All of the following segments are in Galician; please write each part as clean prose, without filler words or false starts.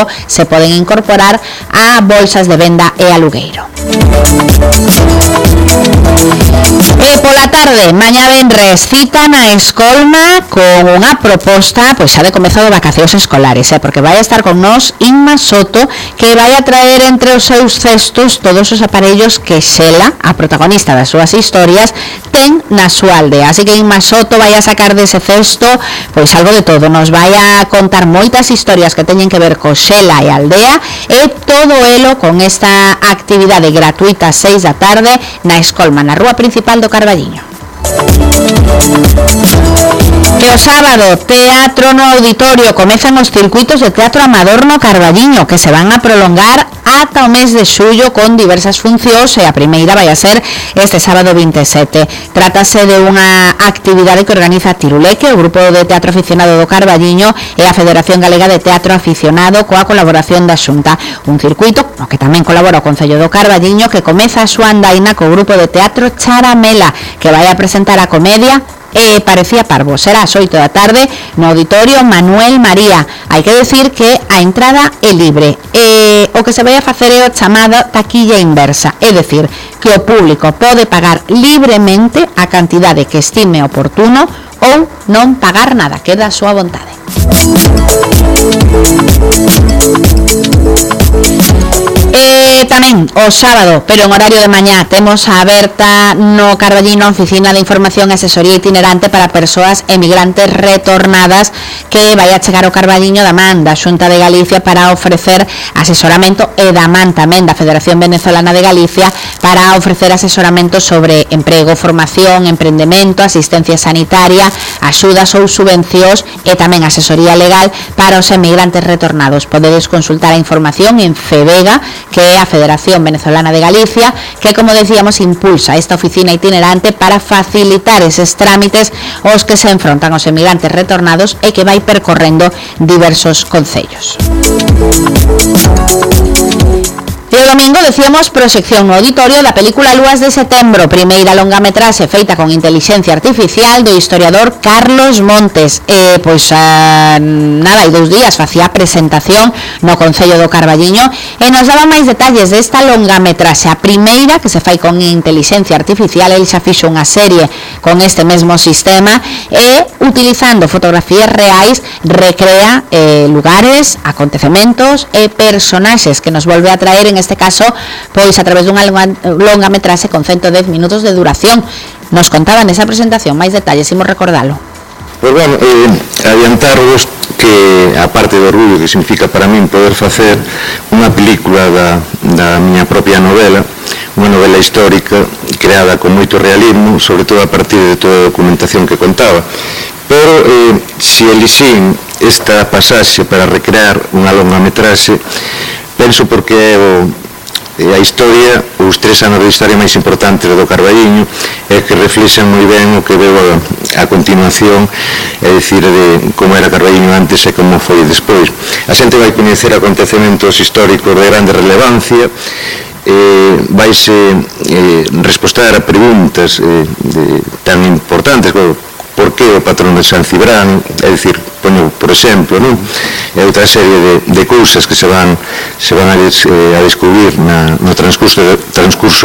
logo se poden incorporar a bolsas de venda e alugueiro. E pola tarde, mañá venres, cita na Escolma con unha proposta pois xa de comezo de vacacións escolares, porque vai a estar con nós Inma Soto, que vai a traer entre os seus cestos todos os aparellos que Xela, a protagonista das súas historias, ten na súa aldea. Así que Inma Soto vai a sacar dese cesto pois algo de todo, nos vai a contar moitas historias que teñen que ver co Xela e a aldea, e todo elo con esta actividade gratuita 6 da tarde na Escolma, na rúa principal do Carballiño. E o sábado, teatro no auditorio, comezan os circuitos de teatro amador no Carballiño, que se van a prolongar ata o mes de xullo con diversas funcións, e a primeira vai a ser este sábado 27. Trátase de unha actividade que organiza Tiruleque, o grupo de teatro aficionado do Carballiño, e a Federación Galega de Teatro Aficionado, coa colaboración da Xunta. Un circuito no que tamén colabora o Concello do Carballiño, que comeza a súa andaina co grupo de teatro Charamela, que vai a presentar a comedia Parecía Parvo. Será ás 8 da tarde no auditorio Manuel María. Hai que decir que a entrada é libre. O que se vai a facer é o chamado taquilla inversa, é decir, que o público pode pagar libremente a cantidade que estime oportuno ou non pagar nada, queda a súa vontade. Tamén o sábado, pero en horario de mañá, temos a aberta no Carballiño a Oficina de Información e Asesoría Itinerante para persoas emigrantes retornadas, que vai a chegar ao Carballiño da man da Xunta de Galicia para ofrecer asesoramento, e da man tamén da Federación Venezolana de Galicia para ofrecer asesoramento sobre emprego, formación, emprendemento, asistencia sanitaria, axudas ou subvencións, e tamén asesoría legal para os emigrantes retornados. Podedes consultar a información en FEVEGA, que é a Federación Venezolana de Galicia, que, como decíamos, impulsa esta oficina itinerante para facilitar eses trámites aos que se enfrontan os emigrantes retornados, e que vai percorrendo diversos concellos. E o domingo, decíamos, proxección no auditorio da película Lúas de Setembro, primeira longametraxe feita con inteligencia artificial do historiador Carlos Montes. Nada, hai 2 días facía a presentación no Concello do Carballiño, e nos daba máis detalles desta longametraxe, a primeira que se fai con inteligencia artificial. El xa fixo unha serie con este mesmo sistema, e utilizando fotografías reais recrea lugares, acontecementos e personaxes que nos volve a traer, en este caso, pois a través dunha longametraxe con 110 minutos de duración. Nos contaban nesa presentación máis detalles, imos recordalo. Pois bueno, adiantarvos que, a parte do orgullo que significa para min poder facer unha película da miña propia novela, unha novela histórica creada con moito realismo, sobre todo a partir de toda a documentación que contaba, pero se elixín esta pasaxe para recrear unha longametraxe, penso porque a historia, os 3 anos de historia máis importantes do Carballiño, é que reflexan moi ben o que veo a continuación, é dicir, de como era Carballiño antes e como foi despois. A xente vai coñecer acontecementos históricos de grande relevancia, vaise respostar a preguntas tan importantes como por que o patrón de San Cibrán, é dicir, poño por exemplo, non? E outra serie de cousas que se van a descubrir no transcurso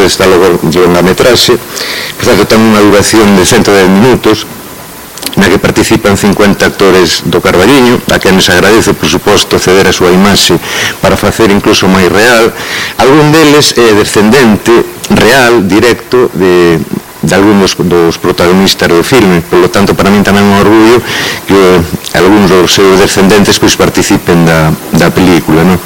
desta longametraxe. Por tanto, ten unha duración de 110 minutos, na que participan 50 actores do Carballiño, a quen les agradece, por suposto, ceder a súa imaxe para facer incluso máis real. Algún deles é descendente real, directo, de algúns dos protagonistas do filme. Por lo tanto, para min tamén é un orgullo que algúns dos seus descendentes pois participen da película, non?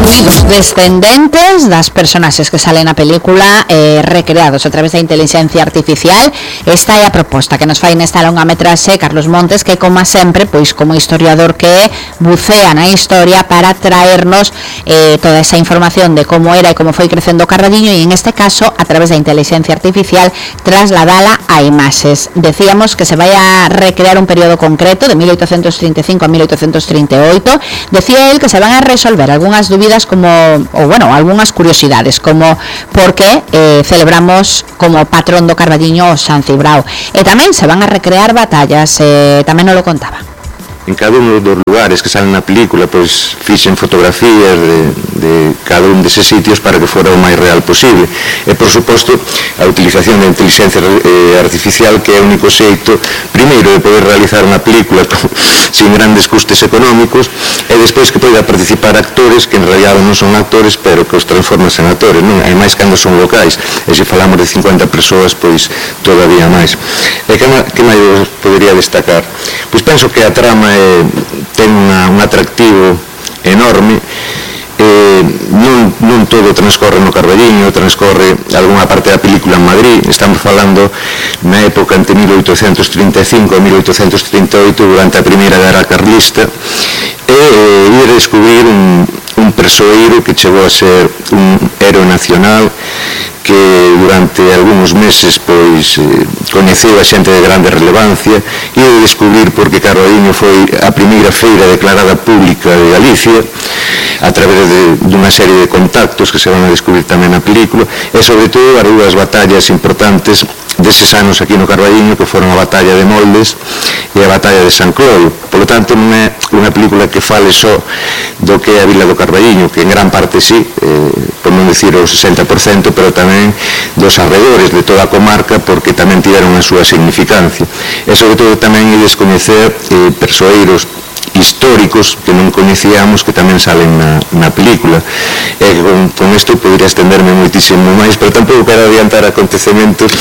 Os descendentes das personaxes que salen na película, recreados a través da inteligencia artificial. Esta é a proposta que nos fai nesta longametraxe Carlos Montes, que, como sempre, pois como historiador que é, bucea na historia para traernos toda esa información de como era e como foi crecendo o Carballiño, e en este caso, a través da inteligencia artificial, trasladala a imaxes. Decíamos que se vai a recrear un período concreto de 1835 a 1838. Decía él que se van a resolver algunhas dúbidas algunhas curiosidades, como por que celebramos como patrón do Carballiño o San Cibrao, e tamén se van a recrear batallas, tamén nos lo contaba. En cada uno dos lugares que salen na película, pois fixen fotografías de cada un deses sitios para que fora o máis real posible. E, por suposto, a utilización da inteligencia artificial, que é o único xeito, primeiro, de poder realizar unha película sin grandes custes económicos, e despois que poida participar actores que en realidad non son actores, pero que os transformas en actores, non? E máis cando son locais, e se falamos de 50 persoas, pois todavía máis. E que máis podería destacar? Pois penso que a trama ten un atractivo enorme. Non todo transcorre no Carballiño, transcorre algunha parte da película en Madrid. Estamos falando na época entre 1835 e 1838, durante a primeira guerra carlista, e ir a descubrir un persoeiro que chegou a ser un héroe nacional, que durante algúns meses pois coñeceu a xente de grande relevancia, e de descubrir porque Carballiño foi a primeira feira declarada pública de Galicia, a través dunha serie de contactos que se van a descubrir tamén na película, e sobre todo as dúas batallas importantes deses anos aquí no Carballiño, que foron a batalla de Moldes e a batalla de San Clodo. Por lo tanto, non é unha película que fale só do que é a vila do Carballiño, que en gran parte sí, por non dicir o 60%, pero tamén dos arredores de toda a comarca, porque tamén tiveron a súa significancia. E sobre todo tamén é descoñecer persoeiros históricos que non coñecíamos, que tamén salen na película. E con isto podría estenderme moitísimo máis, pero tampouco quero adiantar acontecementos,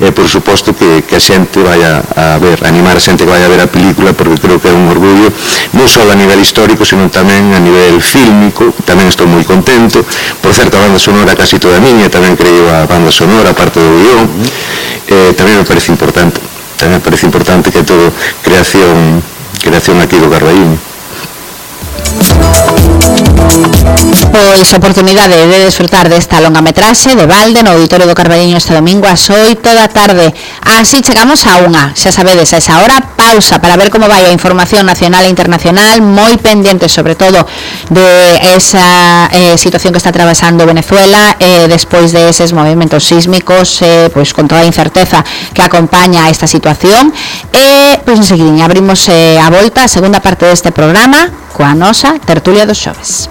e por suposto que a xente vaya a ver, animar a xente que vaya a ver a película, porque creo que é un orgullo non só a nivel histórico, sino tamén a nivel fílmico. Tamén estou moi contento. Por certo, a banda sonora casi toda miña, tamén creo a banda sonora, parte do guión. Tamén me parece importante que todo creación aquí do Carballiño. Pois oportunidade de desfrutar desta longametraxe de balde no Auditorio do Carballiño este domingo ás 8 da tarde. Así chegamos a unha, xa sabedes, a esa hora pausa para ver como vai a información nacional e internacional, moi pendiente sobre todo de esa situación que está atravesando Venezuela, despois de eses movimentos sísmicos, pois con toda a incerteza que acompaña a esta situación. E pois enseguidinha abrimos a volta a segunda parte deste programa coa nosa tertulia dos xoves.